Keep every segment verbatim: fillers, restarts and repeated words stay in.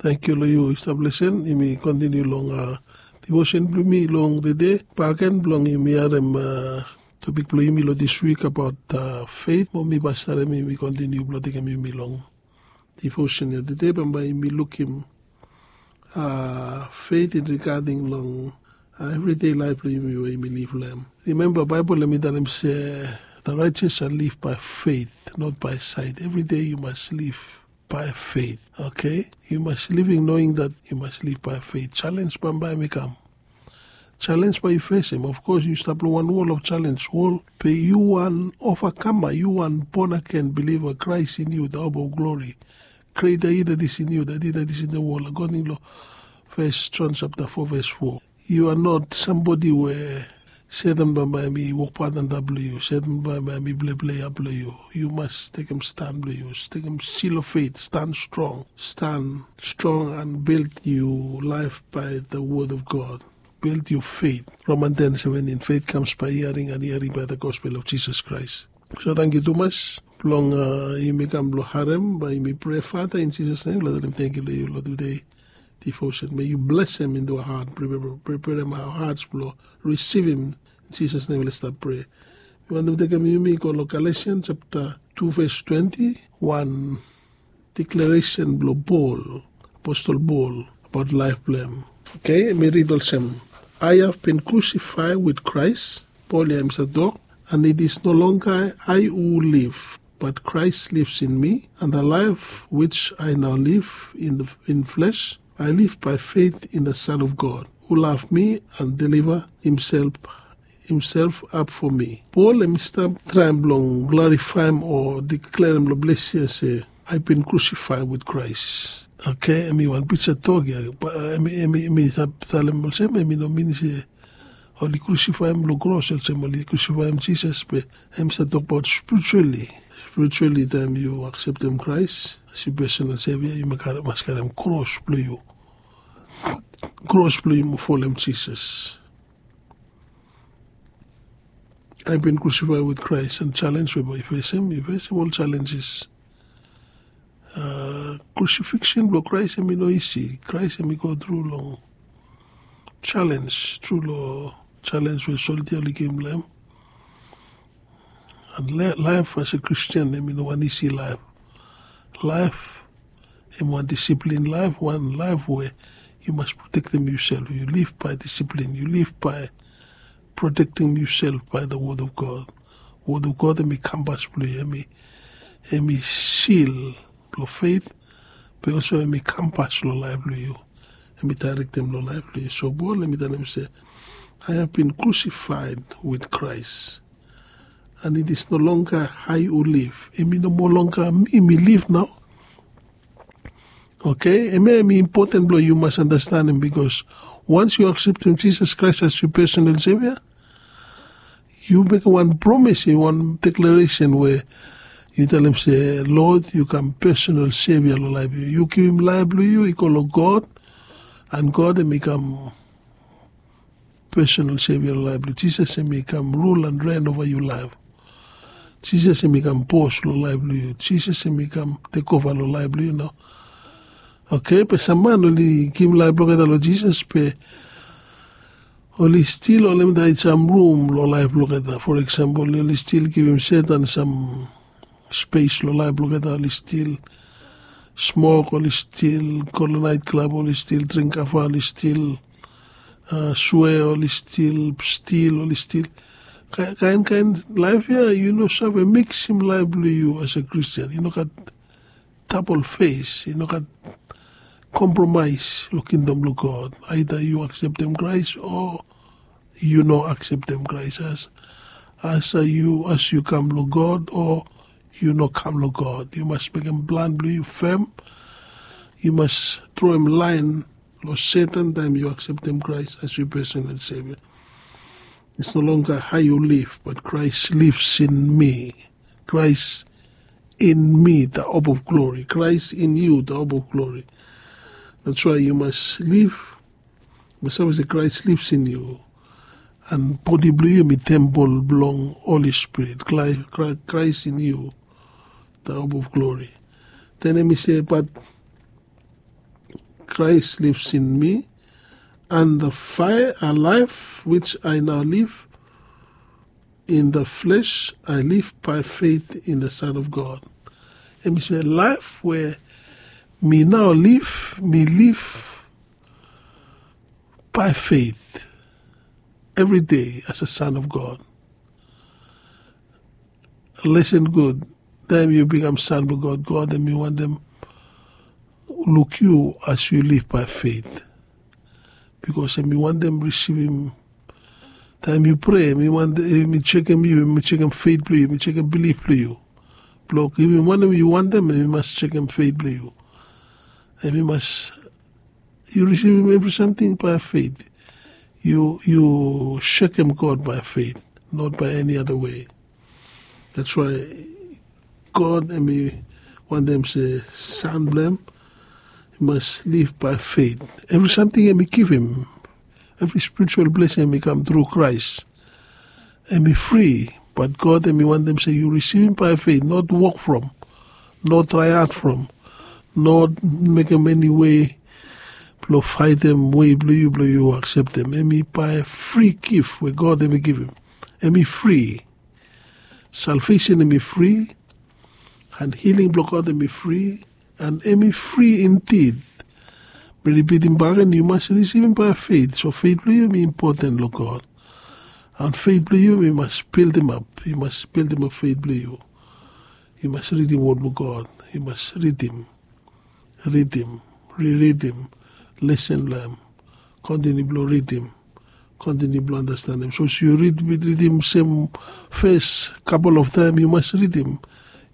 Tangkiu long yu i stap lesen. Yumi kontiniu long devotion blong yumi long tede, bakegen blong yumi harim topik blong yumi long dis wik abaot feit. Mo mi pastarim yumi kontiniu blong tekem yumi long devotion ya tede, bambae yumi lukim feit in rigading long evride laef blong yumi we yumi liv long hem. Rimemba, Baebol hem i talem se, the righteous shall live by faith, not by sight. Evride yu mas liv by faith. Okay, yu mas living knowing that yu mas liv by faith. Challenge bambae hem i kam. Challenge bae yu fesem. Of course yu stap long wan wol of challenge, wol, be yu wan overcomer, yu wan born again believer. Christ in you, the hope of glory. Greater he that is in you than he that is in the world, according long First John chapter four verse four. You are not somebody we Satan bambae hem i wokbaot antap long yu. Satan bambae hem i pleplei ap long yu. Yu mas tekem stan blong yu, tekem seal of faith, stan strong, stan strong and build yu laef by the word of God. Build yu feit. Roman ten seventeen, faith comes by hearing and hearing by the gospel of Jesus Christ. So tangkiu tumas blong yumi kam blong harem, bae yumi prea. Father, in Jesus' name, long taem tangkiu long yu long tede devotion. May you bless them into our heart, preparem our hearts blong risivim. In Jesus' name, let's stop pray. Mi wantem tekem yumi go long Galatians chapter two verse twenty, wan declaration blong Paul, apostle Paul, abaot laef blong hem. Okay, mi rid olsem, I have been crucified with Christ. Paul ya hem i save tok, and it is no longer I who live, but Christ lives in me, and the life which I now live in the in flesh, I live by faith in the Son of God, who loved me and deliver himself himself up for me. Paul hem i stap traem blong glorifaem o deklarem long ples ya se, I been crucified with Christ. Okay, hem i wan pija tok ya. Hem i stap talem olsem hem i no min se oli crucified long kros olsem oli crucified Jesus, be hem i stap tokbaot spiritually. Spiritually, taem yu akseptem Christ as yu personal Savior, yu mas karem kros blong yu. Kros blong yu mo folem Jesus. I been crucified with Christ, and challenge we bae yu fesem, yu fesem ol challenges. Crucifixion blong Christ hem i no isi. Christ hem i go tru long challenge, tru long challenge we soldia oli givim long hem. And laef as a Christian hem i no wan isi laef. Laef hem wan discipline laef, wan laef we yu mas protektem yusef. Yu liv bae discipline, yu liv bae protektem yusef bae the word of God. Word of God hem i kampas blong yu, hem i seal blong feit, be olsem hem i kampas long laef blong yu. Hem i daerektem long laef blong yu. So Paul hem i talem se, I have been crucified with Christ, and it is no longer I who live. Hem i no moa longga mi mi liv nao. Okay, hemia hem i impoten blong yu mas andastanem, bikos once yu akseptem Jesus Christ as yu personal Savior, yu mekem wan promis, wan deklaresen we yu talem se, Lord, yu kam personal Savior long laef blong yu. Yu givim laef blong yu i go long God, and God hem i kam personal Savior long laef blong yu. Jesus hem i kam rul and reign ova yu laef. Jesus hem i kam bos long laef blong yu. Jesus hem i kam tekova long laef blong yu nao. Okay, be sam man oli givim laef blong olgeta long Jesus, be oli stil holem daet sam rum long laef blong olgeta. For example, oli stil givim Satan sam spes long laef blong olgeta. Oli stil smok, oli stil go long naet klab, oli stil dring kava, oli stil swea, oli stil stil, oli stil kaen kaen laef ya. Yu no save miksim laef blong yu as a Christian. Yu no gat dabol fes, yu no gat kompromaes long kingdom blong God. Aeda yu akseptem Kraes o yu no akseptem Kraes. As as yu as yu kam long God o yu no kam long God. Yu mas mekem plan blong yu fem. Yu mas droem laen long Satan taem yu akseptem Kraes as yu personal Savior. It's no longer I who live, but Christ lives in me. Christ in me, the hope of glory. Christ in you, the hope of glory. That's why yu mas liv, yu mas save se Christ lives in you. And bodi blong yu hem i tempol blong Holy Spirit. Christ in you, the hope of glory. Then hem i se, but Christ lives in me, and the fire a life which I now live in the flesh, I live by faith in the Son of God. Em i se laef we mi nao liv, mi liv by faith every day as a son of God. Listen good. Taem yu bikam son blong God, God em i wantem luk yu as yu liv by faith. Bikos em i wantem risivim, taem yu prea, em i wantem, em i jekem yu, em i jekem feit blong yu, em i jekem bilif blong yu. Blong givim wanem yu wantem, em i mas jekem feit blong yu. Em i mas, yu risivim evri samting by faith. Yu, yu sekem God by faith, not by any other way. That's why God em i wantem se son blong em i mas liv by faith. Evri samting em i givim, evri spiritual blessing em i kam tru Christ. Em i fri, but God em i wantem se yu risivim by faith, not work from, not try hard from, not mekem eni wei blong faetem wei blong yu blong yu akseptem. Em i by fri gift we God em i givim. Em i fri. Salvation em i fri, and healing blong God em i fri, and em i fri indeed. Mi ripitim bakegen, yu mas risivim by faith. So faith blong yu em i impoten long God. And faith blong yu em i mas bildimap. Yu mas bildimap faith blong yu. Yu mas ridim wod blong God. Yu mas ridim, ridim, riridim, lisen long em, kontiniu blong ridim, kontiniu blong andastanem. Sapos yu rid, ridim sem ves kapel of taem, yu mas ridim.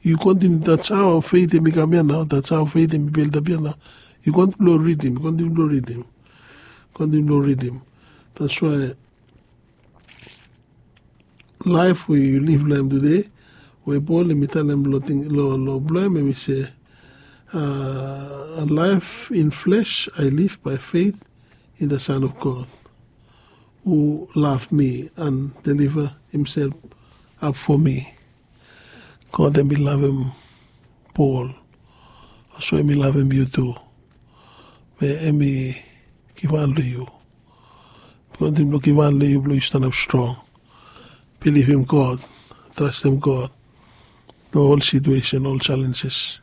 Yu kontiniu, that's how faith em i kam ya nao, that's how faith em i bildap ya nao. Yu kontiniu blong ridim, kontiniu blong ridim, kontiniu blong ridim. That's why laef we yu liv long em tede, we Pol em i talem long ting, long, long blong em, em i se, a, life in flesh I live by faith in the Son of God, who loved me and deliver himself up for me. God em i lavem Pol, olsem em i lavem yu tu. Be em i givhan long yu. Kontiniu blong givhan long yu blong yu stanap strong. Bilivim God, trastem God long ol situesen, ol jalenjes.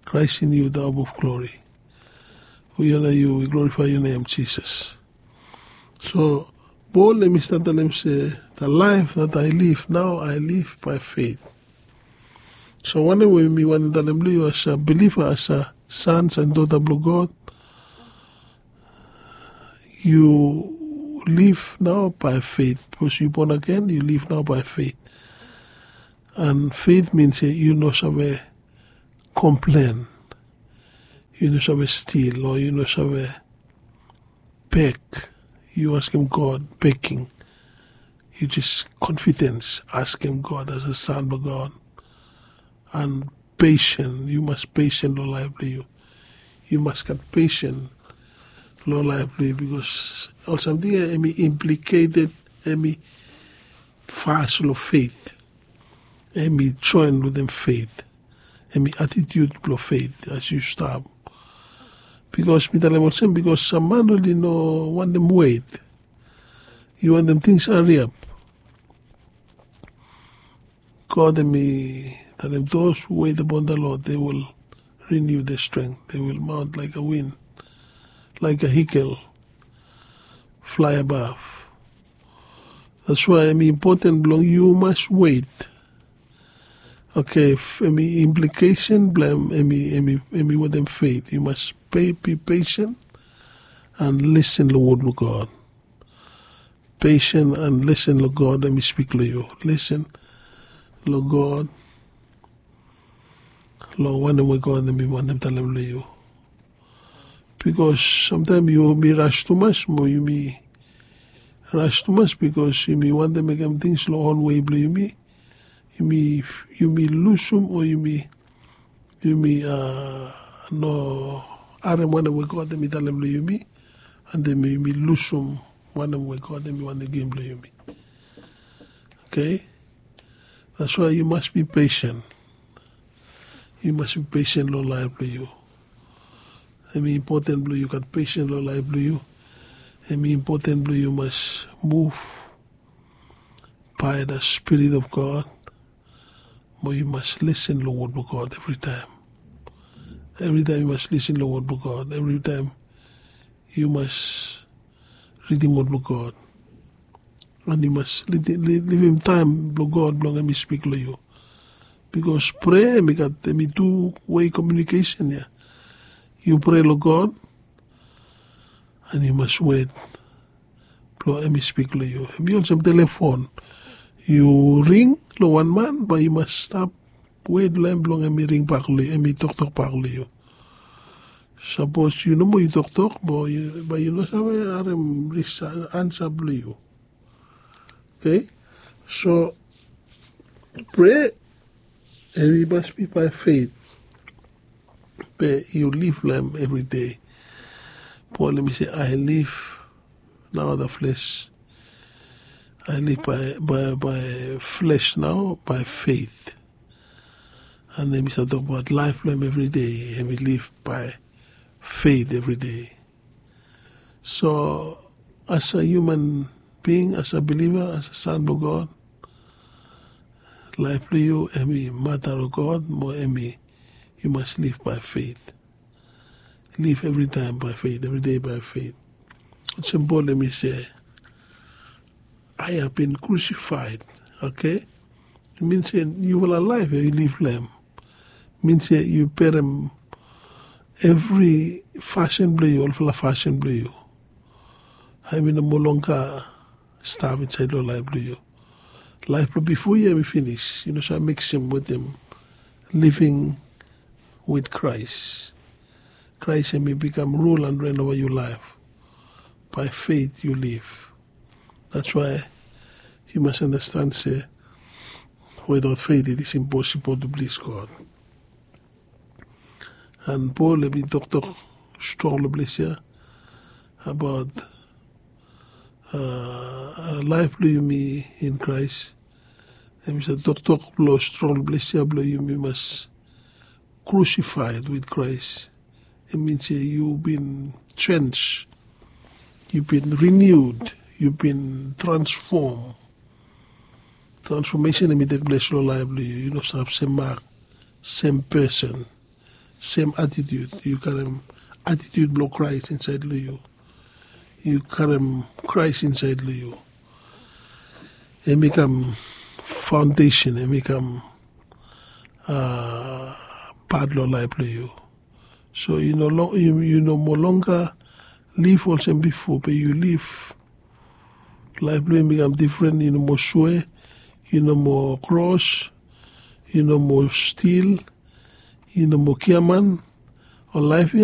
Christ in you, the hope of glory. We honor you, we glorify your name, Jesus. So Pol em i stat talem se, the life that I live now, I live by faith. So wanem we mi wantem talem long yu as a believer, as a sons and daughter blong God, yu liv nao by faith. Bikos yu born again, yu liv nao by faith. And faith means se yu no save komplen, yu no save stil, o yu no save beg. Yu askem God, begging. Yu jes confidence askem God as a son blong God. And patient, yu mas patient long laef blong yu. Yu mas gat patient long laef blong yu, bikos ol samting ya em i implicated, em i fas long faith. Em i join wetem faith. Em i attitude blong faith as yu stap. Bikos mi talem olsem, bikos sam man oli no wantem wet. Yu wantem tings hariap. God em i talem, those who wait upon the Lord, they will renew their strength. They will mount like a wind, like a eagle, fly above. That's why em i impoten blong yu mas wet. Okei, em i implikesen blong em, em i, em i wetem faith. Yu mas be patient and listen long wod blong God. Patient and listen long God, em i spik long yu. Listen long God, long wanem we God em i wantem talem long yu. Bikos samtaem yumi ras tumas, mo yumi ras tumas bikos yumi wantem mekem tings long on wei blong yumi. Yumi, yumi lusum, o yumi, yumi, a, no harem wanem we God em i talem long yumi, and then yumi lusum wanem we God em i wantem givim long yumi. Okei? That's why you must be patient. Yu mas be patient long laef blong yu. Hem i impoten blong yu gat pesen long laef blong yu. Hem i impoten blong yu mas muv bae da Spirit of God. Mo yu mas lesen long wod blong God evritaem. Evritaem yu mas lesen long wod blong God, evritaem yu mas ridim wod blong God. An yu mas livim taem blong God blong hem i spik long yu. Bikos prea hem i gat hem i tu wei komiunikesen ya. Yu prea long God an yu mas wet blong hem i spik long yu. Hem i olsem telefon, yu ring long wan man bae yu mas stap wet long hem blong hem i ringbak long yu, hem i toktok bak long yu. Sapos yu no moa yu toktok, bae yu no save harem ansa blong yu. Okei? So prea hem i mas bi bae feit, be yu liv long hem evri dei. Pol hem i se, "I live now the flesh. I live by, by, by flesh now, by faith." An hem i save tokbaot laef blong hem evri dei, hem i liv by faith evri dei. So as a human being, as a believer, as a son blong God, laef blong yu hem i mata long God, mo hem i, yu mas liv by faith. Liv evritaem by faith, evri dei by faith. Olsem Pol hem i se, "I have been crucified." Okei? Min se niufala laef ya yu liv long hem. Min se yu berem evri fasin blong yu, olfala fasin blong yu. Hem i no moa longer stap insaed long laef blong yu. Laef blong bifo ya hem i finis. Yu no save miksum wetem living with Christ. Christ hem i bikam rul an ren ova yu laef. By faith yu liv. That's why yu mas anastan se without faith it is impossible to please God. An Pol hem i toktok strong long ples ya abaot laef blong yumi in Christ. Hem i save toktok long strong long ples ya blong yumi mas crucified with Christ. Hem i min se yu bin change, yu bin renewed, yu bin transform. Transformation hem i tekples long laef blong yu. Yu no stap sem mak, sem pesen, sem atitiut. Yu karem atitiut blong Kraes insaed long yu. Yu karem Kraes insaed long yu. Hem i kam faondesen, hem i kam pat long laef blong yu. So yu no moa longer liv olsem bifo, be yu liv. Laef blong yu i kam difren. Yu no moa swea, yu no moa kros, yu no moa stil, yu no moa giaman. Ol laef ya